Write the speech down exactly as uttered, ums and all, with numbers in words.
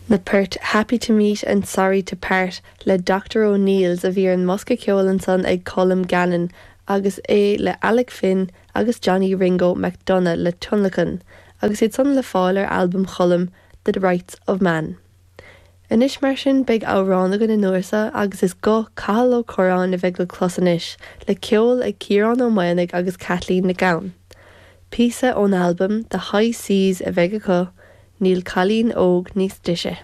Na poirt Happy to Meet and Sorry to Part le Dr O'Neills a bhí ar an mbosca ceoil ansan ag Colm Gannon agus é le Alec Finn agus Johnny Ringo McDonagh le tionlacan, agus iad san le fáil ar albam Choilm The Rights of Man. Anois mar sin beidh amhrán againn an uair seo agus is guth Cathal Ó Curráin a bheidh le clos anois, le ceol ag Ciarán Ó Maonaigh agus Kathleen Nic Gabhann. Píosa ón albam The High Seas a bheidh acu, níl cailín óg níos deise.